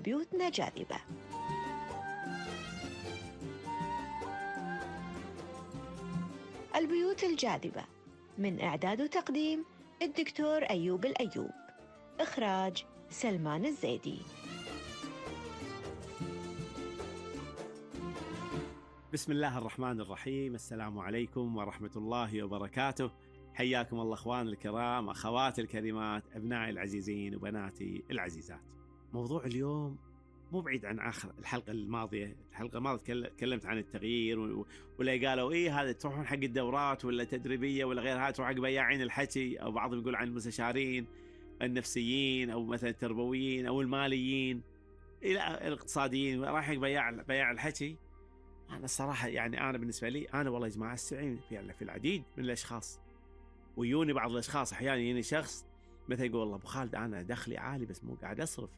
بيوتنا جاذبة. البيوت الجاذبة، من إعداد وتقديم الدكتور أيوب الأيوب، إخراج سلمان الزيدي. بسم الله الرحمن الرحيم. السلام عليكم ورحمة الله وبركاته. حياكم الله أخوان الكرام، أخواتي الكريمات، أبنائي العزيزين وبناتي العزيزات. موضوع اليوم مو بعيد عن آخر الحلقة الماضية. تكلمت عن التغيير ولا قالوا إيه هذا تروحون حق الدورات ولا تدريبية ولا غيرها، تروح حق بياعين الحكي، أو بعضهم يقول عن المستشارين النفسيين أو مثلا التربويين أو الماليين إلى الاقتصاديين، رايح حق بياع الحكي. أنا الصراحة يعني أنا بالنسبة لي أنا والله يا جماعة استعين في العديد من الأشخاص، ويوني بعض الأشخاص أحيانا يجيني شخص مثلا يقول والله أبو خالد أنا دخلي عالي بس مو قاعد أصرف.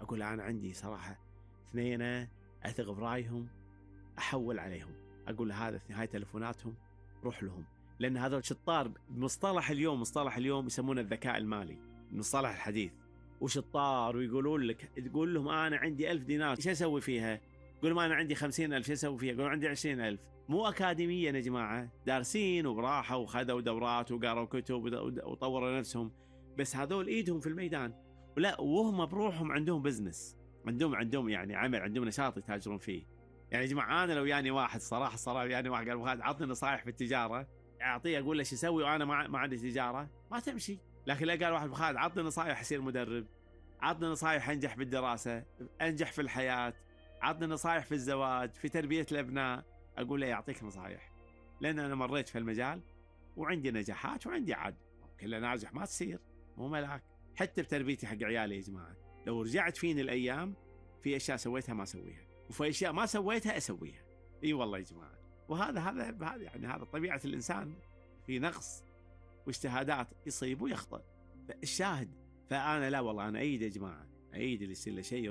أقول أنا عندي صراحة 2 أثق برايهم أحول عليهم، أقول هذا هاي تلفوناتهم روح لهم، لأن هذول شطار بمصطلح اليوم، مصطلح اليوم يسمونه الذكاء المالي، المصطلح الحديث، وشطار ويقولون لك تقول لهم أنا عندي 1000 دينار شو أسوي فيها؟ قول ما أنا عندي 50,000 شو أسوي فيها؟ قول عندي 20,000. مو أكاديمية يا جماعة، دارسين وبراحة وخذوا دورات وقروا كتب وطوروا نفسهم، بس هذول إيدهم في الميدان، ولا وهم بروحهم عندهم بزنس، عندهم يعني عمل، عندهم نشاط يتاجرون فيه. يعني يا جماعة أنا لو يعني واحد صراحة يعني واحد قال عطني نصائح في التجارة، أعطيه أقول له شو أسوي وأنا ما عندي تجارة، ما تمشي. لكن لا قال واحد بخالد عطني نصائح أصير مدرب، عطني نصائح أنجح بالدراسة، أنجح في الحياة، عطني نصائح في الزواج، في تربية الأبناء، أقول له يعطيك نصائح، لأن أنا مريت في المجال وعندي نجاحات وعندي عاد كل ناجح ما تصير، مو ملاك. حتى بتربيتي حق عيالي يا جماعة لو رجعت فيني الأيام في أشياء سويتها ما أسويها، وفي أشياء ما سويتها أسويها. إي والله يا جماعة. وهذا يعني هذا طبيعة الإنسان، في نقص واجتهادات يصيب ويخطئ. الشاهد فأنا لا والله أنا أيد يا جماعة، أيد اللي يصير له شيء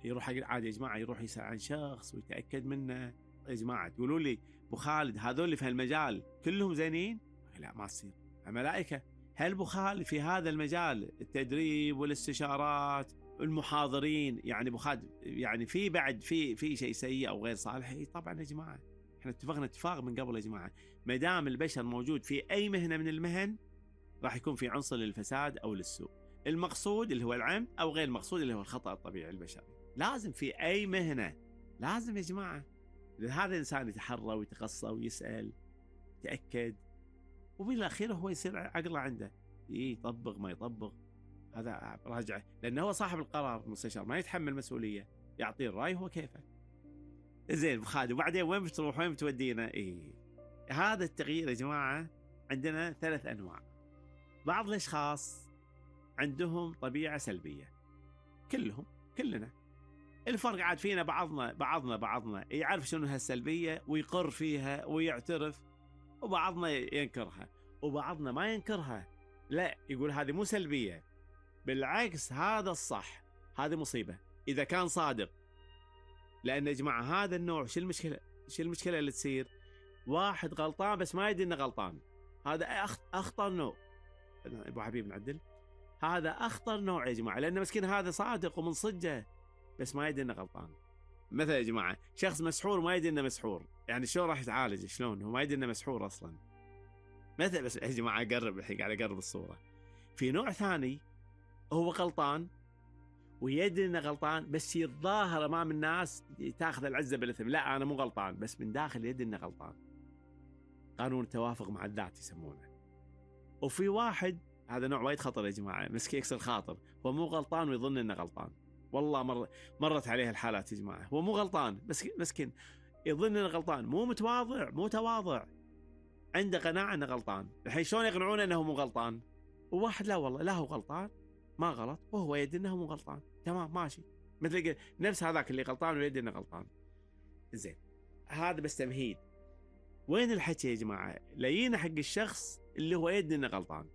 يروح عادي يا جماعة، يروح يسأل عن شخص ويتأكد منه. يا جماعة تقولوا لي أبو خالد هذول اللي في هالمجال كلهم زينين؟ لا ما تصير، الملائكة. هل أبو خالد في هذا المجال التدريب والاستشارات المحاضرين يعني أبو خالد يعني في بعد في شيء سيء أو غير صالح؟ طبعا يا جماعة احنا اتفقنا اتفاق من قبل يا جماعة، ما دام البشر موجود في أي مهنة من المهن راح يكون في عنصر للفساد أو للسوء، المقصود اللي هو العمد أو غير المقصود اللي هو الخطأ الطبيعي البشري. لازم في أي مهنة، لازم يا جماعة هذا الإنسان يتحرى ويتقصى ويسأل يتأكد، وبالأخير هو يصير عقله عنده يطبق ما يطبق، هذا راجعه، لأنه هو صاحب القرار، المستشار ما يتحمل مسؤولية، يعطيه الرأي هو كيفه. زين بخادم وبعدين وين بتروح وين بتودينا؟ هذا التغيير يا جماعة عندنا 3 أنواع. بعض الأشخاص عندهم طبيعة سلبية، كلنا الفرق عاد فينا بعضنا يعرف شنو هالسلبية ويقر فيها ويعترف، وبعضنا ينكرها وبعضنا ما ينكرها، لا يقول هذه مو سلبية، بالعكس هذا الصح، هذه مصيبة إذا كان صادق. لأن يا جماعة هذا النوع شو المشكلة اللي تصير؟ واحد غلطان بس ما يدري إنه غلطان، هذا أخطر نوع. أبو حبيب نعدل، هذا أخطر نوع يا جماعة، لأن مسكين هذا صادق ومن صدقه بس ما يدري إنه غلطان. مثلا يا جماعة شخص مسحور ما يدري إنه مسحور، يعني شلون راح يتعالج؟ شلون هو ما يدري إنه مسحور أصلا؟ مثلا بس يا جماعة أقرب الحين، قاعد أقرب الصورة. في نوع ثاني هو غلطان ويدري إنه غلطان بس يتظاهر أمام الناس تأخذ العزة بالإثم، لا أنا مو غلطان، بس من داخل يدري إنه غلطان. قانون التوافق مع الذات يسمونه. وفي واحد هذا نوع وايد خطر يا جماعة، مسكين يكسر خاطر، هو مو غلطان ويظن إنه غلطان. والله مرت عليه الحالات يا جماعة، هو مو غلطان بس مسكين يظن إنه غلطان، مو تواضع، عنده قناعة إنه غلطان. الحين شلون يقنعونه إنه مو غلطان؟ وواحد لا والله لا هو غلطان ما غلط وهو يدري إنه مو غلطان، تمام ماشي، مثل نفس هذاك اللي غلطان ويدري إنه غلطان. زين هذا بس تمهيد. وين الحكي يا جماعة؟ لينا حق الشخص اللي هو يدري إنه غلطان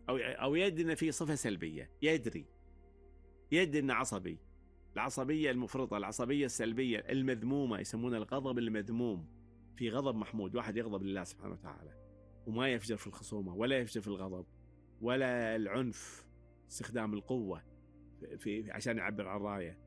أو يدري إنه فيه صفة سلبية، يدري إنه عصبي، العصبية المفرطة، العصبية السلبية المذمومة، يسمونها الغضب المذموم. في غضب محمود، واحد يغضب لله سبحانه وتعالى وما يفجر في الخصومة ولا يفجر في الغضب ولا العنف، استخدام القوة عشان يعبر عن رأيه،